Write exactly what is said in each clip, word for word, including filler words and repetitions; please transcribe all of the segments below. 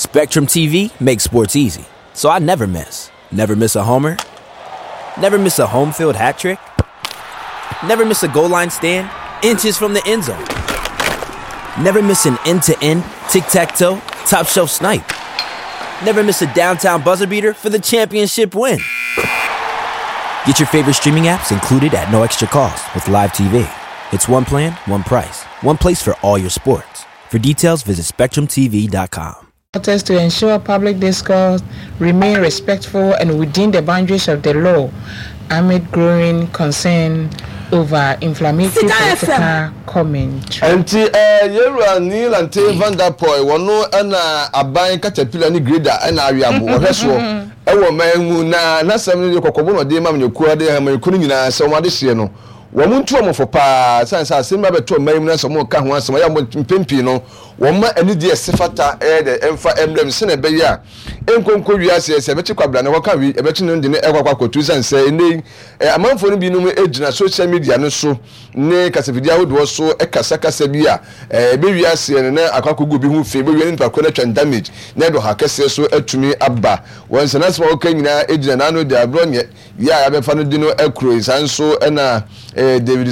Spectrum T V makes sports easy, so I never miss. Never miss a homer. Never miss a home field hat trick. Never miss a goal line stand, inches from the end zone. Never miss an end to end, tic tac toe, top shelf snipe. Never miss a downtown buzzer beater for the championship win. Get your favorite streaming apps included at no extra cost with Live T V. It's one plan, one price, one place for all your sports. For details, visit Spectrum T V dot com. To ensure public discourse remain respectful and within the boundaries of the law amid growing concern over inflammatory political commentary. Nti yɛwura Nii Lante Vanderpuye, wɔno ɛna aban katapila ne grader ɛna aweabo ɔhwɛ soɔ ɛwɔ man mu, na n'asɛm no deɛ, kɔkɔbɔ na ɔde ma amanyɔkuo de amanyɔkuo no nyinaa sɛ wɔn adehyeɛ no, wɔn ntu wɔn fo paa, san sɛ asɛm bi abɛto ɔman mu na sɛ wɔn ka ho asɛm ɛyɛ wɔn mpɛn pii no, wɔn ma anigye ɛse fata ɛyɛ dɛ ɛmfa ɛmbrɛ mu sɛnɛ ɛbɛyɛ a nkonko wiase sɛ ɛbɛkye kwabra na wɔka wi ɛbɛkye no de ne ɛkɔ akɔ akɔtu, san sɛ ɛnɛ yi amanfoɔ no binom gyina social media no so ne kasafidie ahodoɔ so kasakasa bi a ɛbɛwi aseɛ no na akɔ akɔgu obi ho fi, ɛbɛwie ne nipa korɔ no atwa damage na ɛde ɔha kɛseɛ so atumi aba wɔn nsɛn. Asɛm a wɔka nyinaa gyina n'ano de aborɔ nyɛ yɛ a yɛabɛfa no di no akuro yi. Saa nso ɛna David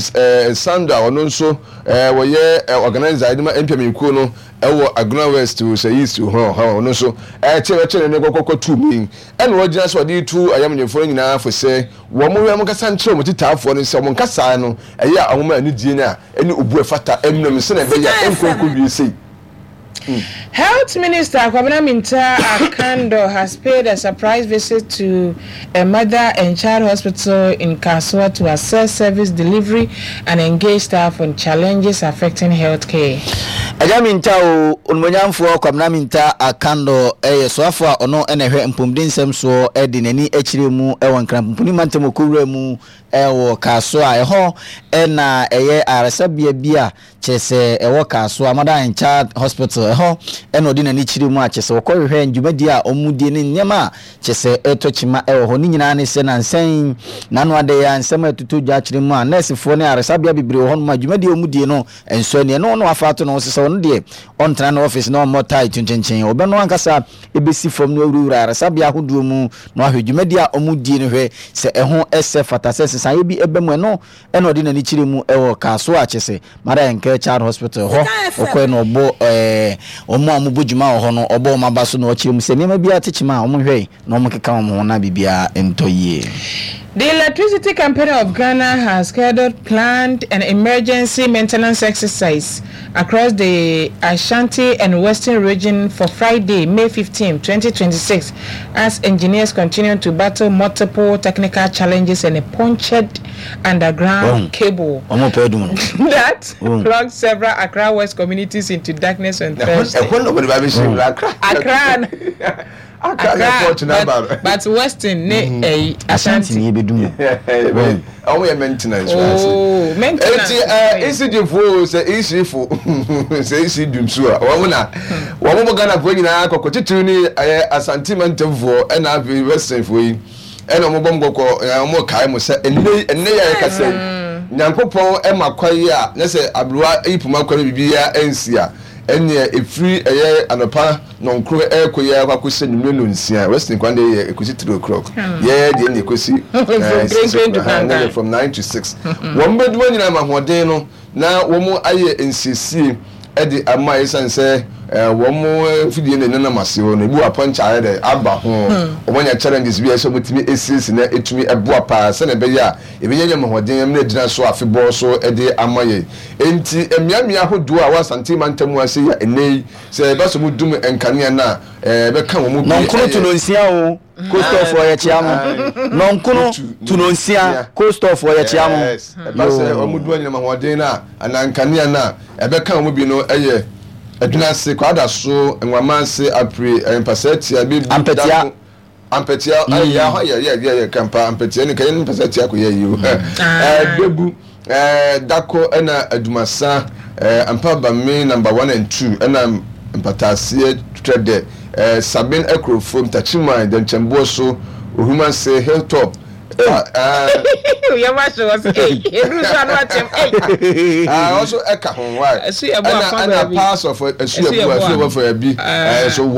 Sando a ɔno nso wɔyɛ organizer de ma N P P kuo no ɛwɔ Agona West sɛ East hɔ, ɔno nso ɛkyɛ ɛkyɛ ne kɔkɔkɔ tu mi, ɛna wɔgyina so ɔde tu ayamnyɛfoɔ no nyinaa fo sɛ wɔn mo wɔn kasa nkyerɛ wɔn titaafoɔ no sɛ wɔn kasa no ɛyɛ a wɔn anigye no a ɛne obu ɛfata ɛmnam sɛnɛ ɛbɛyɛ a ɛnkɔnkɔ wie sei. Health Minister Kwabena Mintah Akandoh has paid a surprise visit to a mother and child hospital in Kasoa to assess service delivery and engage staff on challenges affecting healthcare. Ɛgya Minta o, onimonyamfoɔ Kwabena Mintah Akandoh ɛyɛ soafoɔ a ɔno ɛna ɛhwɛ mpɔmuden nsɛm soɔ, ɛde n'ani akyerɛ mu ɛwɔ Nkranpomponi mantam okowura mu ɛwɔ Kasoa. Ɛhɔ ɛna ɛyɛ ayaresabea bi a kyerɛ sɛ ɛwɔ Kasoa, Mother and Child Hospital. Ɛhɔ ɛna ɔde n'ani kyerɛ mu a kyerɛ sɛ wɔkɔhwehwɛ dwumadie a ɔmo die ne nneɛma a kyerɛ sɛ ɛtɔ kyima ɛwɔ hɔ ne nyinaa. Ne sɛ nansɛn n'ano adɛ a nsɛm a ɛtotɔ dwa akyerɛ mu a nɛɛsefoɔ ne ayaresabea bebree wɔ hɔnom a dwumadie a ɔmo die no nso ani ɛno no afa ato no sɛ ɔno deɛ ɔntena ne office na ɔmmɔ tie to nkyɛnkyɛn, ɔbɛno ankasa ɛbɛsi fam no awurawura ayaresabea ahodoɔ mu na wahwɛ dwumadie a ɔmo die no, hwɛ sɛ ɛho ɛsɛ fata sɛ sesaeɛ bi ɛbɛ mu. Ɛno ɛna ɔde n'ani kyerɛ mu ɛwɔ Kasoa a kyerɛ sɛ Mother and Care Child Hospital hɔ. Ɔkɔɛ na ɔbɔ ɛɛ ɔmo a ɔmo bɔ dwuma wɔ hɔ no, ɔbɔ ɔmo aba so na ɔkyerɛ mu sɛ nneɛma bi atekyema a ɔmo hwɛ na ɔmo keka wɔn ho na biribiara ntɔ yie. The Electricity Company of Ghana has scheduled planned an emergency maintenance exercise across the Ashanti and Western region for Friday, May fifteenth, twenty twenty-six, as engineers continue to battle multiple technical challenges and a punctured underground Oh. cable Ɔmo pɛ dum no. that Oh. plunged several Accra West communities into darkness on Thursday. Ɛhɔ na wɔde ba bɛhyɛ mu Accra. Accra. Accra na port na ba. but, but Western ne eh, Ashanti Ashanti. ni ebedu mu. Ɔmo yɛ maintenance. Oh, maintenance. Eti ɛ E C G fo sɛ E C fo sɛ E C dumsu a wɔn na wɔn bɔ Ghana fo nyinaa kɔkɔ, titiri ni ɛyɛ Asante mantamfoɔ ɛna afei Western fo yi, ɛna wɔn bɔ mu kɔkɔ ɛɛ wɔn kae mo sɛ ɛnɛ yi, ɛnɛ yi a yɛkasa yi, Nyankopɔn ɛma kwa yi a ne sɛ aberewa yi poma kwa no biribiara ɛnsi a, ɛnneɛ efiri ɛyɛ anɔpa nɔnkoro ɛɛkɔ yi akɔ akɔsi anwummerɛ nonsia. Western kwan deɛ yɛ ekosi three o'clock, yɛɛ deɛ ne ekosi ɛɛ six o'clock ɛhɛn, ne yɛ from nine to six. Wɔn bɛduma nyinaa ma ahoɔden no na wɔn ayɛ nsiesie ɛde ama, esan sɛ ɛɛ wɔn mfidie na ɛnenam ase hɔ no, ebi wɔ apɔnkye ayɛ dɛ aba ho, wɔn anya challenges bi a ɛsɛ wɔn tumi esiesie na etumi ɛboa paa sɛnɛ ɛbɛyɛ a ebɛnya nyɛ ahoɔden ɛmɛ gyina so afebɔɔ so ɛde ama yɛn. Nti mmeammea ahodoɔ a wɔ Asante mantam ase yɛ ɛnɛ yi sɛ ɛba so mu dum nkanea no a ɛɛ bɛka wɔn mu bi. Nɔnkono to no nsia o, coastɔfoɔ, yɛkyia mo. Nɔnkono to no nsia, coastɔfoɔ, yɛkyia mo. Yes, ɛba sɛ wɔn dum anyinam ahoɔden no a anaa nkanea no a ɛbɛka wɔn bi no ɛyɛ Adwunase, Kwada so, Nwama ase, Apire, Mpasɛtia bi. Ampɛtia. Ampɛtia ayɛ ahɔ yɛ yɛ yɛ yɛ kampa ampɛtia ne kɛyɛ ne mpasɛtia kɔ yɛ yi o, ɛɛ Bebu, ɛɛ Dako, ɛna Adumasa, ɛɛ Ampabame number one and two, ɛna Mpataaseɛ, Twɛdɛ, ɛɛ Sabin, Akurofo, Ntakyiman, Dɛnkyɛnboɔ so, Ohumase, Hilltop. Yɛ ma hyɛ wɔ sɛ ee eduru so ano akyɛm ee. Aa, ɔso ɛka ho wa Ɛso yɛ bo ɛna afa ɛna baabi. parts of ɛsu Ɛso yɛ yɛ bo bo ɛsu a. yɛ bo fɛ bi ɛɛ so wɔn.